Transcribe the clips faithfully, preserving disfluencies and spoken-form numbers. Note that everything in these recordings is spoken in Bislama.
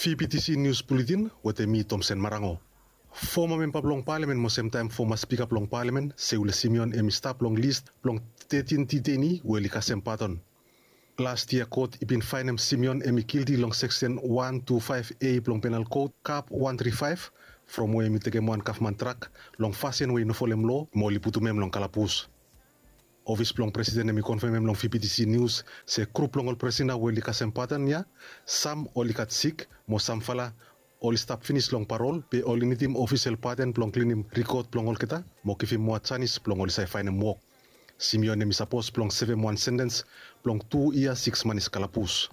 P P T C News Bulletin wetem mi, Tomsen Marango. Foma memba blong palemen mo semtaem foma spika blong palemen, Seule Simeon, hem i stap long lis blong tetin diteini we oli kasem padon. Las yia kot i bin faenem Simeon hem i gilti long seksen wan tu faef A blong Penal Kot, kap wan tri faef, from we hem i tekem wan gavman trak long fasin we i no folem loa mo oli putum hem long kalabus. Ofis blong presiden hem i konfemem long V P T C News se grup blong ol prisona we oli kasem padon ya, sam oli gat sik mo samfala oli stap finis long parol, be oli nidim ofisel padon blong klinim rikod blong olgeta mo givim moa janis blong oli save faenem wok. Simeon hem i sapos blong sevem wan sentens blong tu yia siks manis kalabus.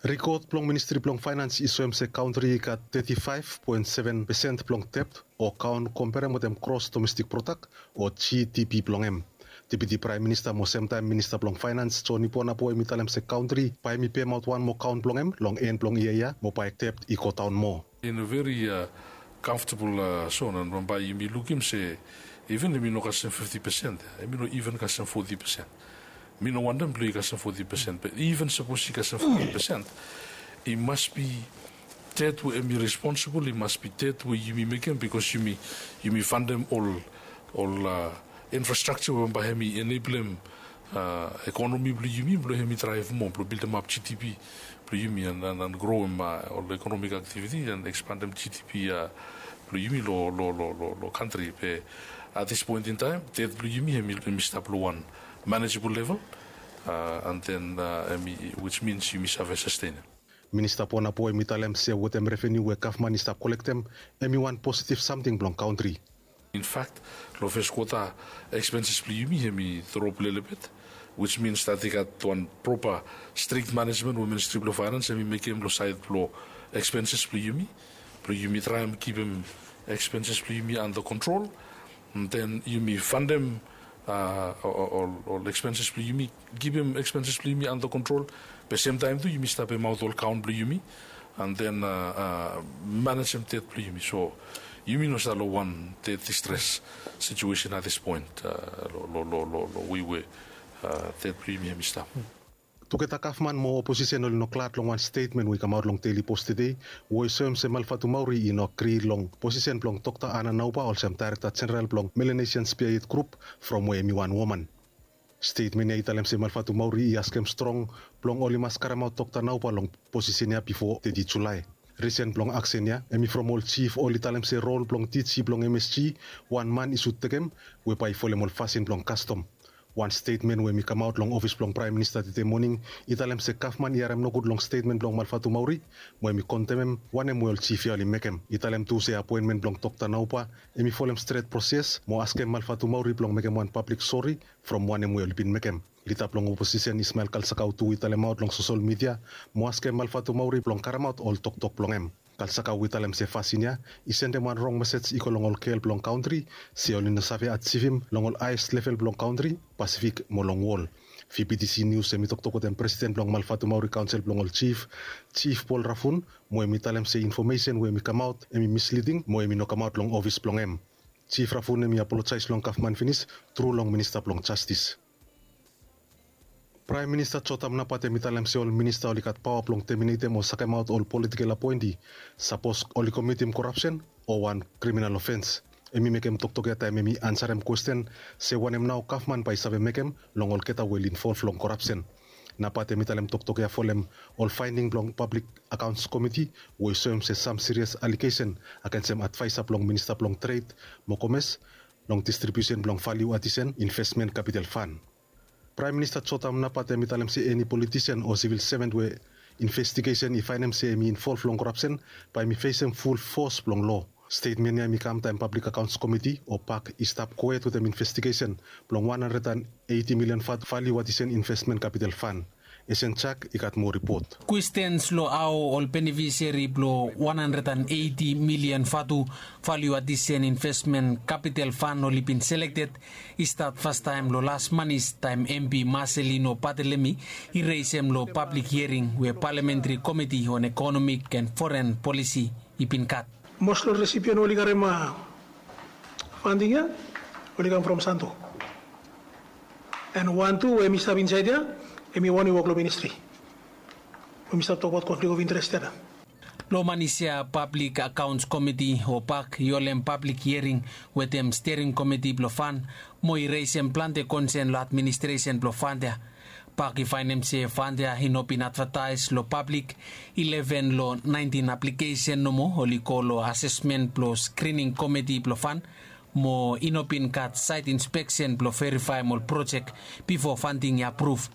Rikod blong Ministri blong Faenans i soem se kantri i gat teti faef poen seven pesen blong debt o kaon komperem wetem gros domestik prodak o G D P blong hem. Deputi Praem Minista mo semtaem Minista blong Faenans, Johny Ponapoo, hem i talem se kantri bae hem i pemaot wan moa kaon blong hem long en blong yia ya mo bae debt i godaon moa. In a very, uh, comfortable, uh, zone, and bambae yumi lukim se even yumi no kasem fifti pesen, yumi no even kasem foti pesen. Mi no wantem blong i kasem foti pesen, be even sapos i kasem foti pesen, i mas bi debt we yumi responsibol, i mas bi debt we yumi mekem, bikos yumi, yumi fantem ol, ol, uh, infrastrakja we bambae hem i eneblem, uh, ekonomi blong yumi blong hem i draev moa, blong bildemap G D P blong yumi, and, and, and groem, uh, ol ekonomik aktiviti and ekspandem G D P, uh, blong yumi lo, lo, lo, lo, lo kantri. Be at this point in time, debt blong yumi hem i, hem i stap lo wan manageable level, uh, and then, uh, hem i, which means yumi save sastenem. Minista Ponapoo hem i talem se wetem reveniu we gavman i stap kolektem, hem i wan positiv samting blong kantri. In fact, lo fes kwota, ekspenses blong yumi hem i drop lelebet, which means that i gat wan propa strik manejmen we Ministri blong Faenans hem i mekem lo saed blo ekspenses blong yumi, blo yumi traem kipim ekspenses blong yumi anda kontrol. And then yumi fantem, uh, ol, ol, ol ekspenses blong yumi, kipim ekspenses blong yumi anda kontrol. Be semtaem tu yumi stap pemaot ol kaon blong yumi, and then, uh, uh, manejem debt blong yumi. So yumi no stap lo wan debt distress situation at this point, uh, lo, lo, lo, lo, lo wei we, uh, debt blong yumi hem i stap. Tugeta gavman mo oposisen oli no glad long wan stetmen we i kamaot long Daily Post tede, we i soem se Malfatumauri i no agri long posisen blong Dokta Ana Nauba olsem Daerekta Jeneral blong Melanesian Spearhead Group, from we hem i wan woman. Stetmen ya i talem se Malfatumauri i askem strong blong oli mas karemaot Dokta Nauba long posisen ya bifo teti Julae. Risen blong aksen ya hem i from ol jif oli talem se rol blong D G blong M S G, wan man i sud tekem, we bae i folem ol fasin blong kastom. Wan stetmen we hem i kamaot long ofis blong Praem Minista tede moning i talem se gavman i harem nogud long stetmen blong Malfatumauri, mo hem i kondemem wanem we ol jif ya oli mekem. I talem tu se apoenmen blong Dokta Nauba hem i folem stret proses mo askem Malfatumauri blong mekem wan pablik sori from wanem we oli bin mekem. Lida blong oposisen Ismael Kalsakau tu i talemaot long sosol midia mo askem Malfatumauri blong karemaot ol toktok blong hem. Kalsakau i talem se fasin ya i sendem wan rong mesej i go long ol gel blong kantri, se oli no save ajivim long ol haes level blong kantri, Pasifik mo long wol. V P T C Nius hem i toktok wetem presiden blong Malfatumauri Kaonsel blong ol Jif, Jif Paul Rafun, mo hem i talem se infomesen we hem i kamaot hem i misliding mo hem i no kamaot long ofis blong hem. Jif Rafun hem i apolojaes long gavman finis tru long Minista blong Jastis. Praem Minista Jotam Napat hem i talem se ol minista oli gat paoa blong teminetem o sakemaot ol politikel apoenti sapos oli komitim korapsen o wan kriminal ofens. Hem i mekem toktok ya taem hem i ansarem kwesten se wanem nao gavman bae i save mekem long olgeta we oli involv long korapsen. Napat hem i talem toktok ya folem ol faending blong Pablik Akaons Komiti we i soem se sam sirias alegesen agensem advaesa blong Minista blong Tred mo Komes long distribiusen blong valiu adisen investmen kapital fan. Praem Minista Jotam Napat hem i talem se eni politisen o sivil seven we investigesen i faenem se hem i involv long korapsen bae hem i fesem ful fos blong loa. Stetmen ya hem i kam taem Pablik Akaons Komiti o pak i stap kwet wetem investigesen blong wan handred an eiti milian vatu valiu adisen investmen kapital fan. Esen Jak i gat moa ripot. Kwestens long hao ol benefiseri blong wan handred an eiti milian vatu valiu adisen investmen kapital fan oli bin selekted i stat fastaem long las manis taem M P Marcelino Barthelemy i resem long pablik hiering we Palamentri Komiti on Ekonomik and Foren Polisi i bin gat. Mos long resipian we oli karem fanding ya oli kam from Santo. And wan tu we hem i stap insaed ya hem i wan we i wok long ministri. Lo manis ya pablik akaons komiti o pak i holem pablik hiering wetem stering komiti blong fan mo i resem plante konsen long administresen blong fan ya. Pak i faenem se fan ya i no bin advataes long pablik ileven long naentin aplikesen nomo oli go long asesmen blong skrining komiti blong fan mo i no bin gat saet inspeksen blong verifaem ol projek bifo fanting i apruf.